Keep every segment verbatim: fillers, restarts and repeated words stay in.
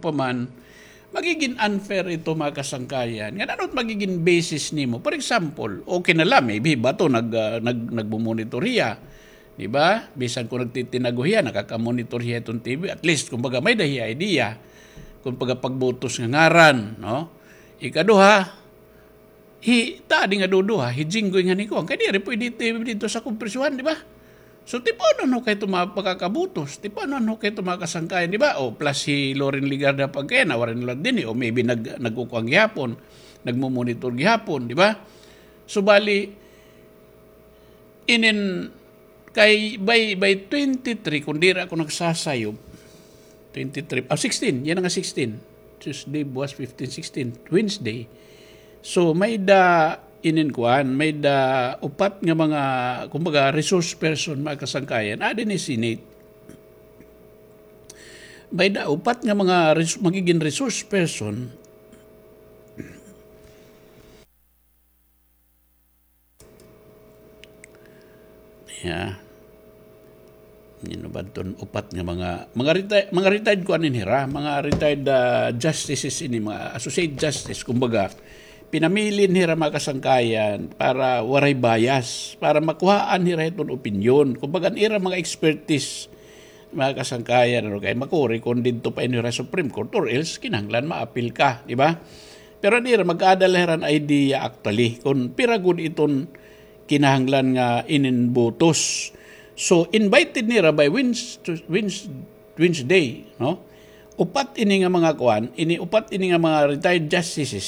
pa man, magigin unfair ito, mga kasangkayan. Ngan ano it magigin basis nimo? For example, okay na la, maybe bato nag-, ah, nag-, nagmo-monitor hiya. Di ba? Bisan kon nagtitinago hiya, nakaka-monitor hiya hiton T V. At least, kumbaga, may-ada hiya idea. Kumbaga, pagbutos nga ngaran, no? Ikaduha, hi, ta di nga duduha, hi Jinggoy ngan hi kuan. Kay diri pwede it T V didto sa akon prisohan, di ba? So, tipanon ho kay ito mga pagkakabutos, tipanon ho kay ito mga kasangkayan, di ba? O, plus hi Loren Legarda pagkayana, waray na la dinhi, o maybe nag-, nagkukuan gihapon, nagmo-monitor gihapon, di ba? So, bali, inin, kay by, by twenty-three, kon diri ako nagsasayop, twenty-three, ah, sixteen, yana nga sixteen. Tuesday, buwas fifteen, sixteen, Wednesday. So, may-ada inin kuan, may-ada upat nga mga, kumbaga, resource person, mga kasangkayan, adi ni Senate. May-ada upat nga mga res-, magigin resource person. Ya. Nino ba ton upat nga mga, mga reti-, mga retired kuan ini hira, mga retired, ah, justices ini, mga associate justice, kumbaga, pinamili ini hira mga kasangkayan para waray bias, para makuhaan hira hiton opinyon. Kumbaga, an ira mga expertise, mga kasangkayan, ano, kay makuri kon didto pa ini hira Supreme Court, or else kinahanglan maapil ka, di ba? Pero an ira, mag-aada la hira hin idea actually kon pira gud iton kinahanglan nga inin butos. So, invited nira by Wednes-, Wednes-, Wednesday, no? Upat ini nga mga kuan, ini upat ini nga mga retired justices,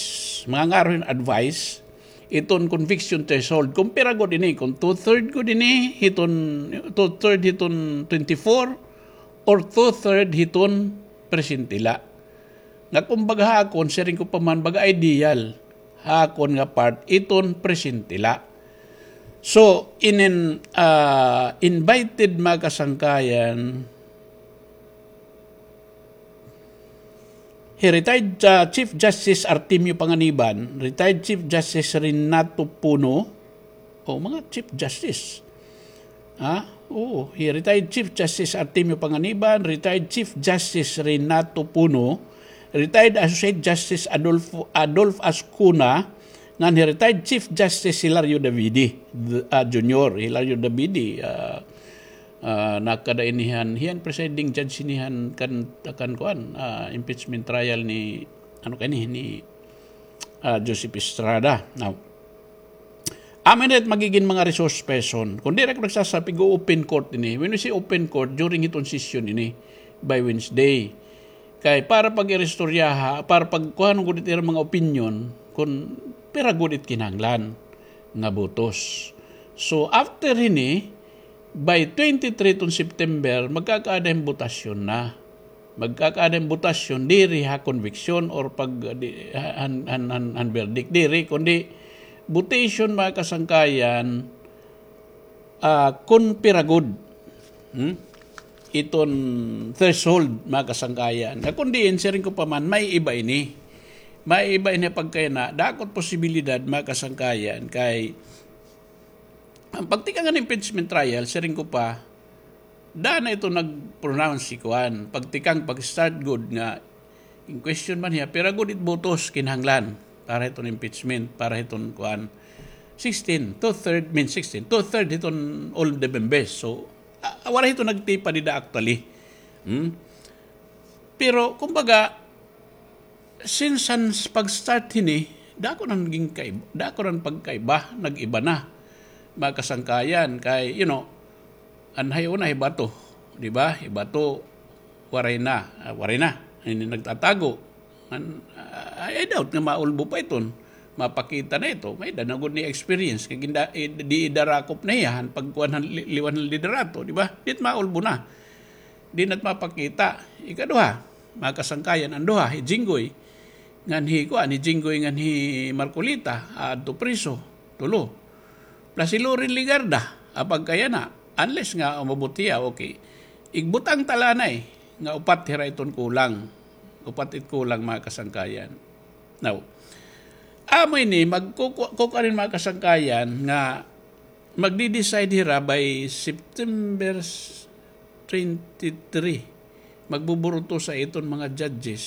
mga ngaro hin advice, iton conviction threshold. Kon pira gud ini, kon two-third gud ini, hiton, two-third hiton twenty-four, or two-third hiton presente la. Nga kumbaga ha akon, siring ko pa man, baga ideal ha akon nga part, iton presente la. So, inin, ah, invited mga kasangkayan, hi retired, ah, Chief Justice Artemio Panganiban, retired Chief Justice Renato Puno, o, mga Chief Justice. Ha? Oo, hi retired Chief Justice Artemio Panganiban, retired Chief Justice Renato Puno, retired Associate Justice Adolfo, Adolf Ascuna, ngan hi retired Chief Justice Hilario Davide, d-, ah, Junior, Hilario Davide, ah, ah, nakada ini han, hiya an presiding judge ini han kan, kan kuan, ah, impeachment trial ni, ano kani, ni, ah, Joseph Estrada. Now, amo ini it magigin mga resource person. Kon diri ako nagsasayop, ig-open court ini. When we say open court, during hiton session ini, by Wednesday. Kay para pag-iristoryaha, para pagkuhanon gud it ira mga opinyon, kon pira gud it kinahanglan nga butos. So, after hini, by twenty-three ton September, magkakaada hin botasyon na. Magkakaada hin botasyon diri ha conviction or pag, di, han, han, han, han verdict diri, kundi votation, mga kasangkayan, ah, kon pira gud, hmm? Iton threshold, mga kasangkayan. Nga kon diin, siring ko pa man, may iba ini. May iba ini pagkayana, dako it posibilidad, mga kasangkayan, kay an pagtikang han impeachment trial, siring ko pa, daan na ito nag-pronounce si kuan. Pagtikang, pag-start gud nga, in question man hiya, pira gud it botos kinahanglan para hiton impeachment, para hiton kuan. Sixteen, two-third, mean sixteen, two-third hiton all the members. So, ah, wala hito nagtipa dida actually. Hmm? Pero, kumbaga, since han s-, pag-start hini, dako na naging kaib-, dako na pagkaiba, nag-iba na. Mga kasangkayan, kay, you know, an hay una, hi Bato, di ba? Hi Bato, waray na, ah, waray na. Ini nagtatago. An, ah, I doubt nga maulbo pa iton. Mapakita na ito. May-ada na gud ni experience. Kay ginda-, i-, di idarakop na hiya, han pagkuan han li-, liwan han liderato, di ba? Di it maulbo na. Di na it mapakita. Ikaduha, mga kasangkayan, an duha, hi Jinggoy. Ngan hi, kuan, hi Jinggoy ngan hi Marcoleta, aadto priso, tulo. Plus hi Loren Legarda, apagkayana, unless nga umabot hiya, okay. Igbutang ta la anay, nga upat hira iton kulang. Upat it kulang, mga kasangkayan. Now, amo ini, magkuku-, kukuan ini, mga kasangkayan, nga magdi-decide hira by September twenty-three. Magbuburutosa iton mga judges.